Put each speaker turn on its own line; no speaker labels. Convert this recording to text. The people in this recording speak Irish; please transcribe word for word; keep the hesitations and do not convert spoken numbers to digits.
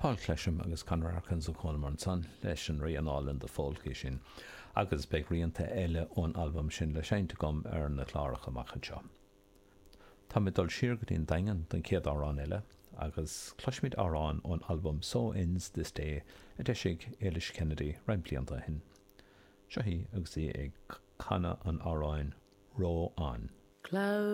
Paul Clesham agus Conor Harkins ó Conamara ansan leis an rian álainn The Folk é sin, agus beidh rianta eile ón albam sin le seinnt agam ar na cláracha amach anseo. Tá mé dul siar go dtí an Daingean don chéad amhrán eile, agus cloisfimid amhrán ón albam So Ends This Day a d'eisigh Éilis Kennedy roinnt blianta ó shin. Seo í agus í ag canadh an amhráin Row On.
Cloud